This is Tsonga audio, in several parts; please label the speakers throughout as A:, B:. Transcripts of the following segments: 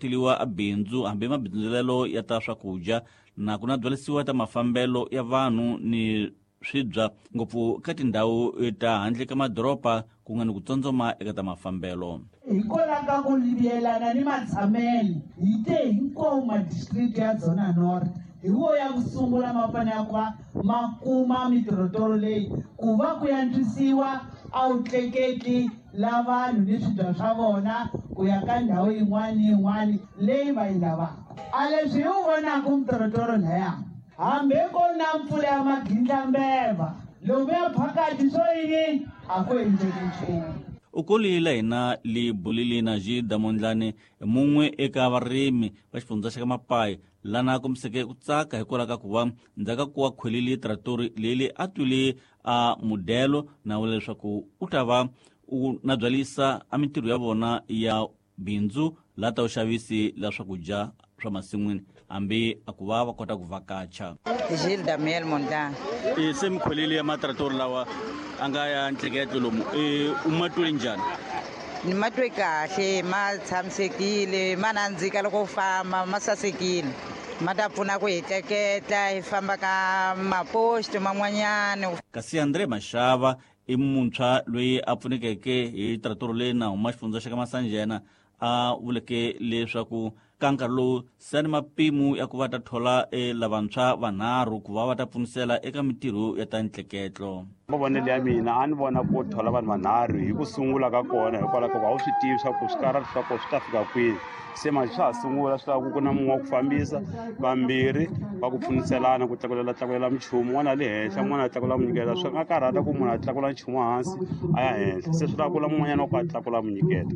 A: Tiliwa a bindzu hambi mabindzulelo ya ta swakudya na ku na byalisiwa ta mafambelo ya vanhu ni swibya ngopfu ka tindhawu ta handle ka madoroba ku nga ni ku tsondzoma eka ta mafambelo.
B: Hikwalaho ka ku yelana ni matshamelo hi te hinkwawo madistrikti ya Dzona North hi wo ya ku sungula ma fanele ku va ma kuma mitirhotoro leyi ku va ku antswisiwa a wu tleketli la vanhu ni swibya swa vona ku ya ka ndhawu yin'wana ni yin'wana leyi va yi lavaka. A leswi hi wu vonaka mitirhotoro laya hambi ko na mpfula ya magindlambeva loko ya phakati swo yini a ku endleki nchumu.
A: U kolile hina li bulile na Jida Mondlane mun'we eka varimi va xifundza xa ka Mapayi lana a kombiseke ku tsaka hikwalaho ka ku va ndzhaku ka ku va khwelile tratori leyi a twile a mudelo na vula leswaku u ta va u na byalisa a mintirho ya vona ya bindzu la ta vuxavisi la swakudya swa masin'wini hambi a ku va va kota ku vhakacha.
C: Gilles Damiel Mondlane.
A: E se mikholeli ya matratori lawa a nga ya ntleketlo lomu e u ma twile njhani?
C: Ni ma twe kahle, ma tshamisekile, ma nandzika loko u famba, ma sasekile. Ma ta pfuna ku hi tleketla hi famba ka maposto man'wanyana.
A: Kasi Andre Mashava i muntshwa loyi a pfunekeke hi tratoro leyi na huma xifundza xa ka Masanjena a vuleke leswaku ka nkarhi lowu se ni mapimo ya ku va ta thola lavantshwa vanharhu ku va va ta pfunisela eka mintirho ya ta ntleketlo.
D: Mavonelo ya mina a ni vona ku thola vanhu vanharhu hi ku sungula ka kona hikwalaho ka ku a wu swi tivi swa ku swikarhati swa kona swi ta fika kwini. Se manje swa ha sungula swi lava ku ku na mun'we wa ku fambisa, vambirhi va ku pfuniselana ku tlakulela tlakulela minchumu, un'wana a le henhla un'wana a tlakula munyikela. Swi nga karhata ku munhu a tlakula nchumu hansi a ya henhla, se swi lava ku na mun'wanyana wa ku a tlakula munyikela.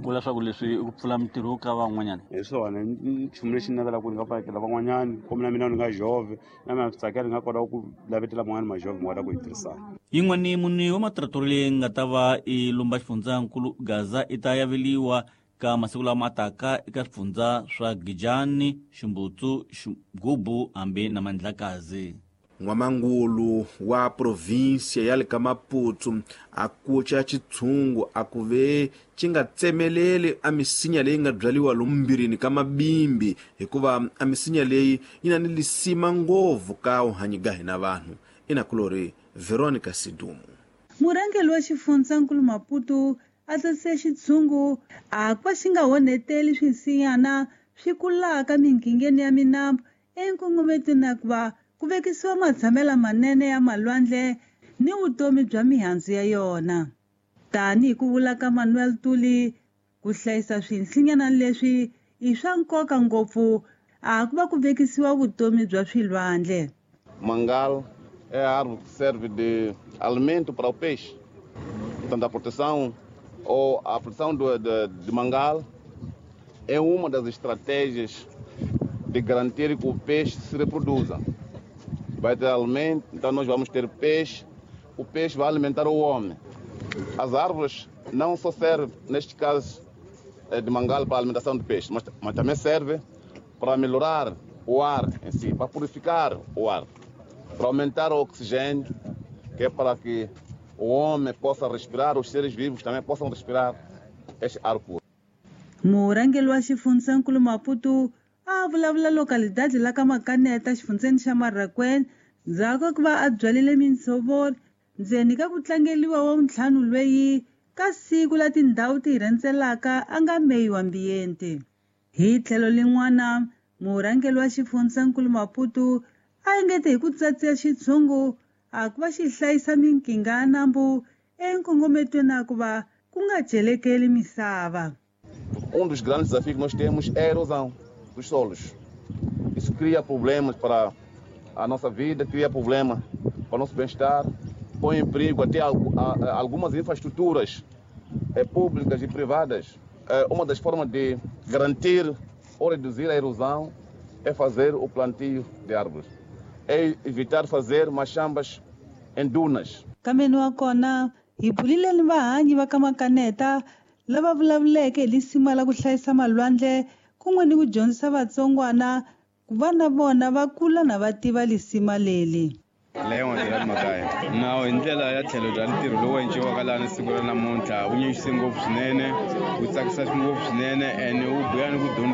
A: Vula leswaku leswi i ku pfula mintirho ka van'wanyana?
D: Hi swona nchumu lexi ni navelaka ku ni nga pfalekela van'wanyana kumbe na mina ni nga jove na mina swi tsakela ni nga kota ku lavetela van'wani majove mi kota ku hi tirhisana.
A: Yin'wani mune wa matratori leyi nga ta va i lumba xifundzankulu Gaza i ta yaveliwa ka masiku lama taka eka swifundza swa Gijani, Ximbutsu, Xigubu hambi na Mandlakazi.
E: N'wamangulu wa provinsia ya le ka Maputo a kuca xitshungu a ku ve xi nga tsemeleli a misinya leyi nga byaliwa lomu mbirini ka mabimbi hikuva a misinya leyi yi na ni lisima ngopfu ka wuhanyi ga hina vanhu. Inakulori Veronica Sidumo.
F: Murhangeri wa xifundzankulu Maputo a tsakise xitshungu a ku va xi nga onheteli swinsinyana swi kulaka minghingeni ya minambu enkongometweni na ku va ku vekisiwa matshamelo manene ya malwandle ni vutomi bya mihandzu ya yona. Tanihi ku vula ka Manuel Tuli, ku hlayisa swinsinyana leswi i swa nkoka ngopfu a ku va ku vekisiwa vutomi bya swilwandle.
G: Mangal é a árvore que serve de alimento para o peixe. Portanto, a proteção ou a produção de mangal é uma das estratégias de garantir que o peixe se reproduza. Vai ter alimento, então nós vamos ter peixe, o peixe vai alimentar o homem. As árvores não só servem, neste caso, de mangal para a alimentação de peixe, mas também serve para melhorar o ar em si, para purificar o ar, para aumentar o oxigênio, que é para que o homem possa respirar, os seres vivos também possam respirar este ar puro.
F: Murhangeri wa xifundzankulu Maputo a vulavula localidade la ka Makaneta xifundzeni xa Marracuene ndzhaku ka ku va a byalile mintshovori ndzeni ka ku tlangeliwa wa vuntlhanu lweyi ka siku la tindhawu ti rhendzelaka a nga meyiwa mbiyenti. Hi tlhelo lin'wana murhangeri wa xifundzankulu Maputo a engete hi ku tsatsiya xitshungu a ku va xi hlayisa minkinga ya nambu enkongometweni a ku va ku nga celekeli misava.
G: Dos grandes desafios que nós temos é a erosão dos solos. Isso cria problemas para a nossa vida, cria problemas para o nosso bem-estar, põe em perigo até algumas infraestruturas públicas e privadas. Uma das formas de garantir ou reduzir a erosão é fazer o plantio de árvores, é evitar fazer machambas em dunas.
F: Kambe wa kona hi bulile ni vahanyi va ka Makaneta lava vulavuleke hi lisima la ku hlayisa malwandle kun'we ni ku dyondzisa vatsongwana ku va na vona va kula na va tiva lisima leli.
D: Leon Gerard Makaya. Nawu hi ndlela ya tlhelo bya ntirho lowu endliwaka laha siku ra namuntlha wu nyanyise ngopfu swinene, wu tsakisa ngopfu swinene and wu buya ni ku dyondzisa.